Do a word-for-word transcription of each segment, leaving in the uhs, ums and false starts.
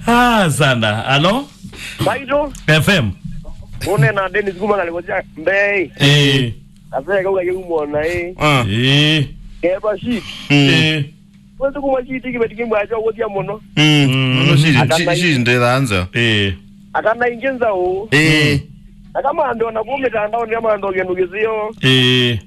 Ah, sana. Alo? Baito. F M. Une na Dennis kuma kale kwa mbei. Eh. Aseka uka yumona eh. Ah. Eh. Keba shit. Mm. Eh. Kwetu kuma shit kibeti kimwa cho wotia mono. Mm. Mm. No shit, shit, shit ndethanza. Eh. Akana ingenza o. Eh. Akama ando na kume tanda on kama ando genu gizio. Eh.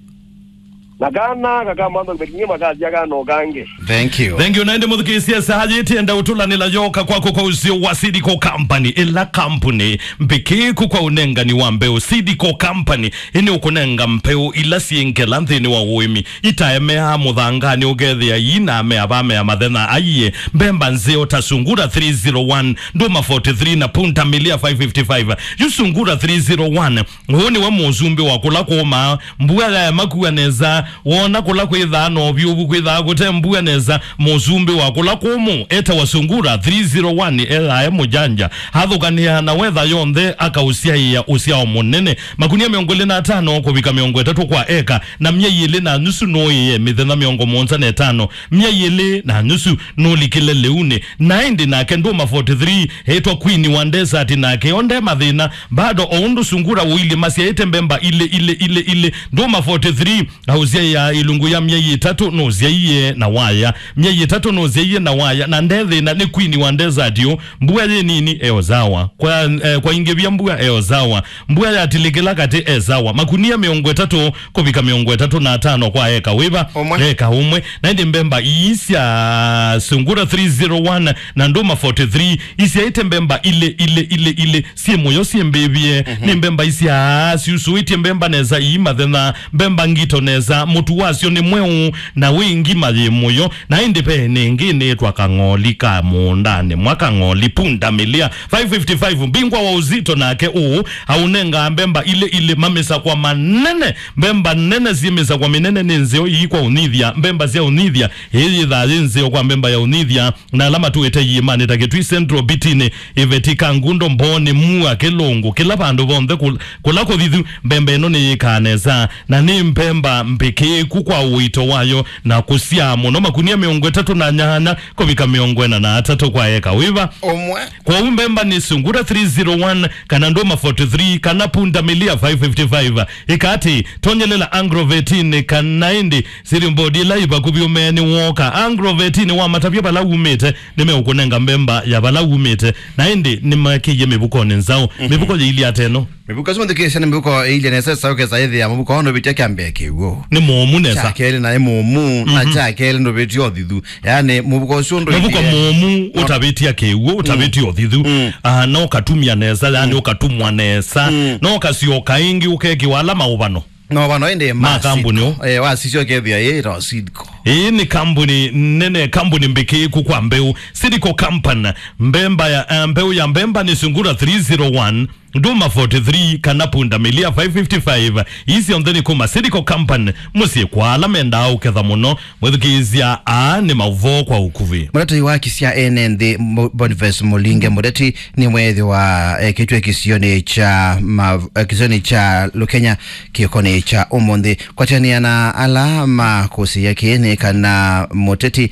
Na kana kakamantha kibeti kimwa kazi akana okange. Thank you. Thank you. Naende mũthukĩĩsya saa yĩtienda ũtũlanĩla yoka kwako kwa ũsio wa Seedco Company, ĩla kambuni mbĩkĩĩku kwa ũnengani wa mbeũ. Seedco Company ĩnĩ ũkũnenga mbeũ ila syĩ ngela nthĩnĩ wa ũĩmi, itaemeaa mũthanganĩ ũkethĩa ii na amea vamea mathenya aiye. Mbemba nzeo ta Sungura three zero one, Nduma forty three na Punda Milia five fifty-five. Yu Sungura three zero one, ũũ nĩwe mũsumbĩ wa kũla kũũmaa, mbua yaema kua nesa, wona kũla kwĩthaa na ũvyũvu kwĩthaa kũte mbua nesa, mũsumbĩ wa kũla kũmũ etawa Sungura three zero one, ethae mũjanja, athũkanĩaa na wetha yonthe, akaũsyaĩa ũsyao mũnene, makunia mĩongo ĩlĩ na atano kũvika mĩongo ĩtatũ kwa eka, na myei ĩlĩ na nusu nũĩe mĩthenya mĩongo mũonza na ĩtano, myei ĩlĩ na nusu nũlikile lĩunĩ. Na ĩndĩ nake Nduma forty three, etwa Queen wa Desert, nake onde mathĩna, bado o ũndũ Sungura ũilyĩ masyaĩte mbemba ilĩ, ilĩ, ilĩ, ilĩ. Nduma forty three, aũsyaĩa ilungu ya myei ĩtatũ nũsyaie na waya. Myei ĩtatũ nũsyaie na waya, na nde thĩna nĩ Queen wa Desert ũ. Mbua yĩ nini, eo sawa. Kwa, eh, kwa ingĩvya mbua, eo sawa. Mbua yatilikĩla katĩ, e sawa. Makunia mĩongo ĩtatũ kũvika mĩongo ĩtatũ na atano kwa eka wĩva? Ũmwe. Eka ũmwe. Na ĩndĩ mbemba ii sya Sungura three zero one na Nduma forty three isyaĩte mbemba ilĩ, ilĩ, ilĩ, ilĩ. Syĩ mũyo, syĩ mbĩvie. Mhm. Nĩ mbemba isyaa syusũĩtye mbemba nesa, ii mathenya, mbemba ngito nesa, mũtu wasyo nĩ mweũ, na wĩ ngima yĩ mũyo. Na ĩndĩ ve nĩngĩ nĩtwa kang'oli ka mũũndanĩ mwa, kang'oli Punda Milia five fifty-five, mbingwa wa ũzito nake ũũ, aũnengaa mbemba ilĩ ilĩ, mamĩsakwa manene, mbemba nene syĩ mĩsakwa mĩnene nĩ nzeo ii kwa ũnyithya, mbemba sya ũnyithya, ĩĩ yĩthaa yĩ nzeo kwa mbemba ya ũnyithya, na ala matũĩte iĩmanĩ ta Kĩtui Central, Bitinĩ, Iveti, Kangundo, Mbooni, Mua, Kĩlũngũ, kĩla vandũ vonthe kũl-, kũla kũthithu, mbemba ĩno nĩyĩkaa nesa, na nĩ mbemba mbĩkĩĩku kwa ũito wayo, na kũsyaa mũno, makunia mĩongo ĩtatũ na nyanya kũvika mĩongo ĩna na atatũ kwa eka wĩva? Ũmwe. Kwoou mbemba nĩ Sungura three zero one, kana Nduma forty three, kana Punda Milia five fifty-five. Ĩka atĩ, tonyelela Agrovetinĩ kana ĩndĩ Siri mbodi ĩla ĩ vakuvĩ ũmeeni wooka. Agrovetinĩ wamatavya vala umĩte, nĩmeũkũnenga mbemba ya vala umĩte. Na ĩndĩ nĩmakĩie mĩvukonĩ nzaũ. Mhm. Mĩvuko yĩilyĩ ata ĩno? Mĩvuko ĩsu mũthikĩĩsya nĩ mĩvuko ĩilye nesa, ĩsaũkesa ĩthĩa mũvuko ũũ ndũvĩtya kyambĩa kĩw'ũ. Nĩ mũũmu nesa. Kya kelĩ naĩ mũũmu, na, mhm, kya kelĩ ndũvĩtya ũthithu. Yaani, mũvuko ũsu ndũilyĩ. Mũvuko mũũmu, no, ũtavĩtya kĩw'ũ, ũtavĩtya ũthithu. Mm. Ah, no katumya nesa, yaani, mm, ũkatumwa nesa. Mm. No kasyoka ĩngĩ ũkekĩwa ala maũvano. No vano ĩndĩ ma masiko. Kambuni ũ? Eh, wasisya ũkethĩa yĩ ĩtawa Seedco. Ĩĩ nĩ kambuni nene, kambuni mbĩkĩĩku kwa mbeũ. Seedco Company, mbemba ya, eh, mbeũ ya mbemba nĩ Sungura three zero one, Nduma forty three, kana Punda Milia five fifty-five. Ii syonthe nĩ kuma Seedco Company, mũsyĩ kwa ala mendaa ũketha mũno. Mwĩthukĩĩsya, aa nĩ maũvoo kwa ũkuvĩ. Mũtatĩi wa haki sya ene nthĩ, Mo-, Boniface Mulinge Muteti, nĩweethĩwa ekĩtwe kĩsionĩ kya ma-, eh, kĩsionĩ kya Lukenya kĩkonĩ kya ũmũnthĩ. Kwatĩanĩa na ala makũsĩĩa kĩĩ nĩ kana Muteti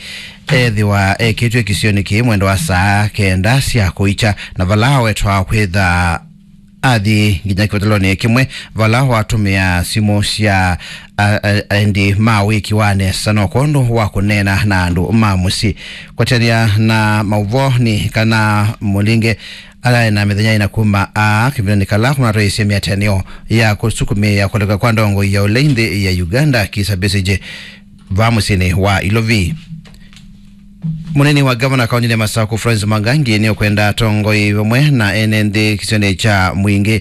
ethĩwa ekĩtwe kĩsionĩ kĩĩ mwendo wa saa kenda sya kũikya, na vala awetwa kwĩtha athi nginya kĩvatalonĩ kĩmwe vala watũmĩa simũ sya a-, a-, aendi ma wĩki wa nesa no kwondũ wa kũneena na andũ ma mũsyĩ. Kwatĩanĩa na maũvoo nĩ kana Mulinge alaĩ na mĩthenya ĩna kuma aa kĩvindanĩ kala kũnatwaĩĩsye mĩatĩanĩo ya kũsukumĩĩa kũleka kwa ndongoi ya ũlei nthĩ ya Uganda, Kizza Besigye, vaa mũsyĩnĩ wa Ilovi. Mũnini wa ngavana kaũntĩnĩ ya Masaku, Florence Mwangangi, nĩũkwenda atongoi vamwe na ene nthĩ kĩsionĩ kya Mwingĩ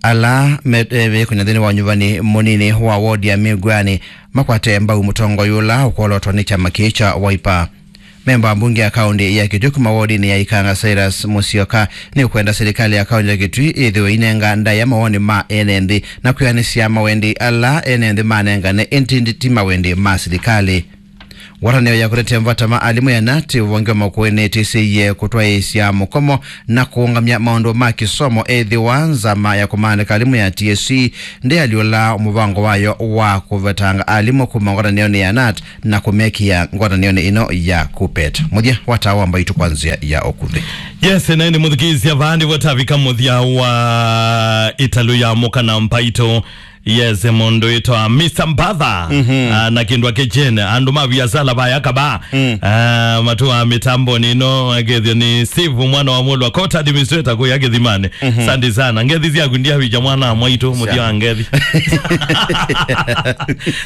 ala me-, eh, mekũnya nthĩnĩ wa ũnyuvani mũnini wa wodi ya Mĩngwani makwate mbau mũtongoi ũla ũkwolotwa nĩ kyama kĩĩ kya Wiper. Memba wa mbunge ya kaũntĩ ya Kitui kuma wodinĩ ya Ikanga, Cyrus Musyoka, nĩũkwenda silikalĩ ya kaũntĩ ya Kitui ĩthĩwe inenga ndaĩa mawoni ma ene nthĩ na kwĩanĩsya mawendi ala ene nthĩ manengane, ĩndĩ ti mawendi ma silikalĩ. Ngwatanĩo ya kũtetea mavata ma alimũ ya nat ũvonge wa makũĩ nĩtĩsĩie kũtwaĩĩsya mũkomo na kũũngamya maũndũ ma kĩsomo ethĩwa nzama ya kũmaandĩka alimũ ya T S C ndĩalyũla mũvango wayo wa kũvetanga alimũ kuma ngwatanĩonĩ ya nat na kũmekĩa ngwatanĩonĩ ĩno ya KUPPET. Mũthya wa taa wa mbaitũ kwa nzĩa ya ũkuvĩ. Yes, na ĩndĩ mũthikĩĩsya vaa nĩvo tavika mũthya wa ĩtalũ ya mũka na mbaitũ. Yes, mũndũ wĩtwa Mister Mbatha. Mhm. Ah, na kĩndũ ake Jane, andũ ma viasala vaya kaba. Mm. Ah, matua mĩtambo nĩno, akethio nĩ Steve, mwana wa Mwolwa, court administrator kũya Kĩthimani. Mhm. Asante sana. Ngethi syaku ndiavija mwana wa mwaitũ, mũthya wa ngethi.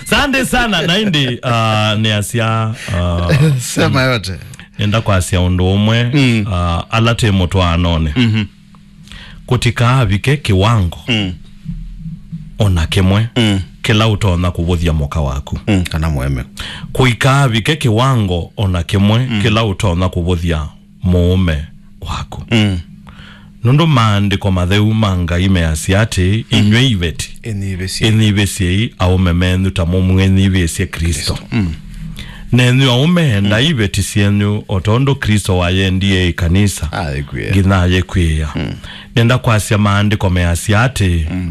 Asante sana. Na ĩndĩ, ah, nĩ asya, ah, Sema yote. Nenda kwasya ũndũ ũmwe, Mm. ah, ala twĩ mũtwaanonĩ. Mhm. Kũtikaavike kĩwango Mm. o na kĩmwe Mm. kĩla ũtonya kũvũthya mũka waku. Mm, kana mũeme. Kũikaavike kĩwango o na kĩmwe Mm. kĩla ũtonya kũvũthya mũũme waku. Mm. Nũndũ maandĩko matheu ma Ngai measya atĩ, Mm. inyw'ĩ iveti, Ĩnyivĩsyei. Ĩnyivĩsyei aũme menyu ta mũmwĩnyivĩsye Kristo. Kristo. Mm. Nenyu aũme, endai Mm. iveti syenyu o tondũ Kristo wayendie ĩkanisa Ayĩkwĩa. Nginya ayĩkwĩa. Mm. Nenda kwasya maandĩko measya atĩ, Mm.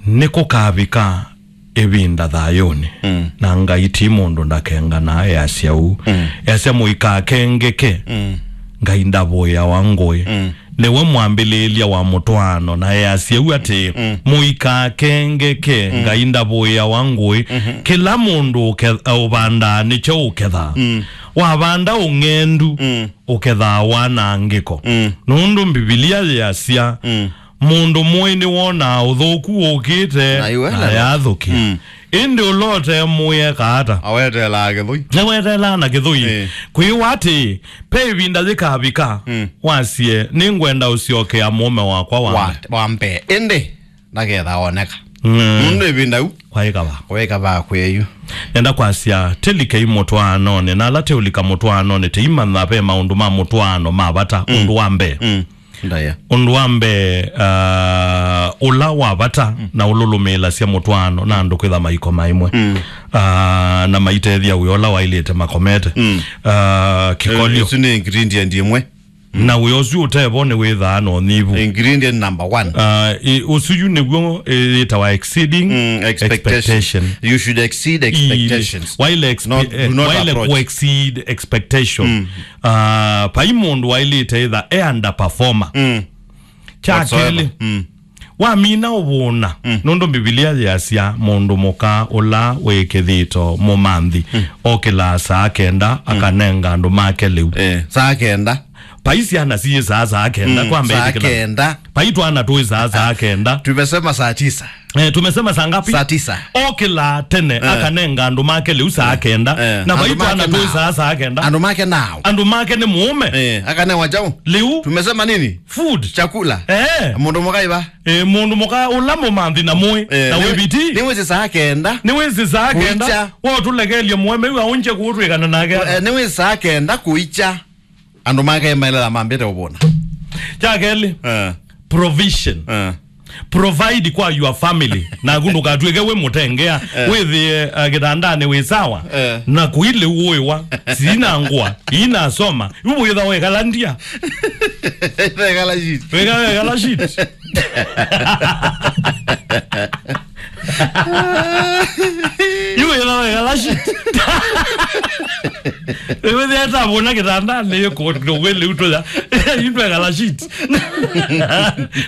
nĩkũkavika ĩvinda thayũnĩ, Mm. na Ngai ti mũndũ ndakenganaa, easya ũu. Mm. Easya, mũikakengeke, Mm. Ngai ndavũĩawa ngũĩ. Mm. Nĩwe mwambĩlĩĩlya wa mũtwaano, na easya ũu atĩ, Mm. mũikakengeke, Mm. Ngai ndavũĩawa ngũĩ. Mm-hmm. Kĩla mũndũ ũke-, ũvandaa nĩkyo ũkethaa. Mm. Wavanda ũng'endu, Mm. ũkethaa wanangĩko. Mm. Nũndũ Mbivilia yĩasya, Mm. mũndũ mũĩ nĩwonaa ũthũku ũkĩte Na iwe na lelo. Yathũkĩa. Mm. Ĩndĩ ũla ũte mũĩ ekaata? Aweteelaa kĩthũi. Nĩweteelaa na kĩthũi. Eh. Kwĩwa atĩ, pe ĩvinda yĩkavika, Mm. wasye, nĩngwenda ũsyokea mũũme wakwa wa Wa, mbee. Wa mbee. Ĩndĩ, ndaketha oneka. Mm. Nũndũ ĩvinda yu. Kwaĩka va. Kwaĩka va kwĩ yu. Nenda kwasya, tĩlikei mũtwaanonĩ, na ala teũlika mũtwaanonĩ, teimanya ve maũndũ ma mũtwaano ma vata, Mm. ũndũ wa mbee. Mm. Ndaya. Ũndũ wa mbee, ah, ũla wa vata Mm. na ũlũlũmĩĩlasya mũtwaano na andũ kwĩtha maikoma ĩmwe. Mm. Ah, na maitethya wĩa ũla waĩlĩte makomete. Mm. Ah, kĩkolyo. Eh, ĩsu nĩ ingredient ĩmwe. Mm. Na wĩa ũsu ũtevo nĩ wĩthaa na ũnyivu. Ingredient number one. Ah, ĩ, ũsu yu nĩw'o, ĩ, yĩtawa exceeding Mm, expectation. Expectation. You should exceed Ii, expectations. Waile expe-, Not, eh, do not waile approach. Ku exceed expectation. Mm. Ah, vai mũndũ waĩlĩte ĩtha e underperformer. Mm. Kya Whatsoever. Kelĩ, Mm. wamina ũvũna, Mm. nũndũ Mbivilia yĩasya mũndũ mũka ũla wĩ kĩthito mũmanthi, Mm. okĩlaa saa kenda, Mm. akanenga andũ make lĩu. Eh, saa kenda. Vai syana syĩsaa saa kenda, Mm, kwa saa mbĩtĩkĩla. Kenda. Vai twana twĩsaa saa kenda. Tumesema saa tisa. Eh, tumesema saa ngapi? Saa tisa. Okĩlaa tene, Eh. akanenga andũ make lĩu saa Eh. kenda. Eh. Na vai Andũ make twana nao. Twĩsaa saa kenda. Andũ make nao. Andũ make nĩ mũũme. Eh, akanewa chao. Lĩu. Tumesema nini? Food. Chakula. Eh. Mũndũ mũka iva. Eh, mũndũ mũka ũla mũmanthi na mũĩ. Eh, na nĩ-, wĩviti. Nĩwĩsĩ saa kenda. Nĩwĩsĩ saa kenda. Kuicha. Wotũlekelye mũũme yu aũnje kũũtwĩkana nake. Eh, nĩwĩsĩ saa kenda kuicha. Andũ make maĩlĩla mambĩte ũvũna. Kya kelĩ, Eh. provision. Eh. Provide kwa your family. Naku ndũkatw'ĩke wĩ mũtengea, Eh. wĩthĩe, uh, kĩtandanĩ wĩ sawa. Eh. Na kũi lĩu ũĩwa, sina ngũa, ina soma. Yu wĩtha wekala ndia. Wekala shit. Weka wekala shit. Yu wĩtha wekala shit. Wĩwĩthĩa ĩtavũna kĩtandanĩ, yĩkũndũgwĩlĩ utũya. Yu twekala shit.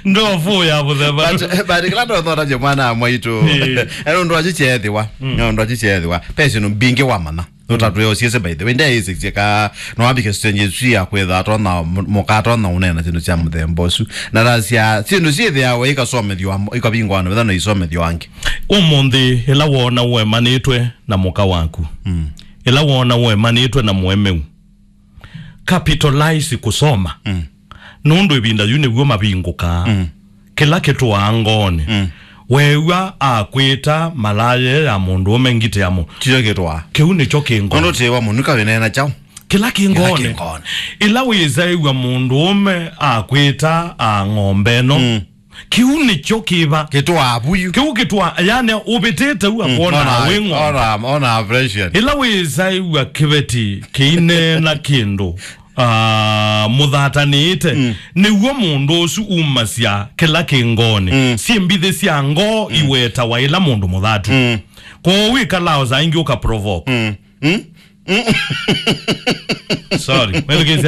Ndofu ya mũthemba. But, but kĩla ndothotaje mwana wa mwaitũ. Ĩĩ. Eno ndwaji chethĩwa. Mm. Eno ndwaji chethĩwa. Pesi no mbingĩ wa mana. Nũtatwĩe ũsiĩsĩ, by the way, ndeĩsĩsye ka no ambike stage ĩsu ya kwĩtha atona mũka atona ũneena syĩndũ sya mũthemba ũsu. Na tasya syĩndũ syĩthĩawa ikasomethyo, ikavingwa na vetha no isomethyo angĩ. Ũmũnthĩ, ĩla wona ũemanĩtwe na mũka waku, Mm. ĩla wona ũemanĩtwe na mũemeu, capitalize kũsoma. Mm. Nũndũ ĩvinda yu nĩw'o mavingũkaa. Mm. Kĩla kĩtũaa ngoonĩ. Mm. Weew'a akwĩta malaya ya mũndũũme ngitĩ ya mũ-, Kĩyo kĩtũaa. Kĩu nĩkyo kĩ ngoonĩ. Nũndũ tĩwa mũnuka wĩneena kyaũ? Kĩla kĩ Kĩla ngoonĩ. Kĩ ngoonĩ. Ĩla wĩsaĩw'a mũndũũme akwĩta a ng'ombe ĩno. Mm. Kĩu nĩkyo kĩva. Kĩtwaa vuyu. Kĩu kĩtwa, yani, ũvĩtĩte u akwona ona, wĩ ng'ondu. Ona, ona pressure. Ĩla wĩsaĩw'a kĩveti kĩineena kĩndũ, ah, mũthatanĩĩte, nĩw'o mũndũ ũsu umasya kĩla kĩ ngoonĩ. Syĩ mbithi sya ngoo iwetawa ĩla mũndũ mũthatu. Kwoou wĩkalaa o saa ingĩ ũkaprovoke. Sorry, wethukĩĩsya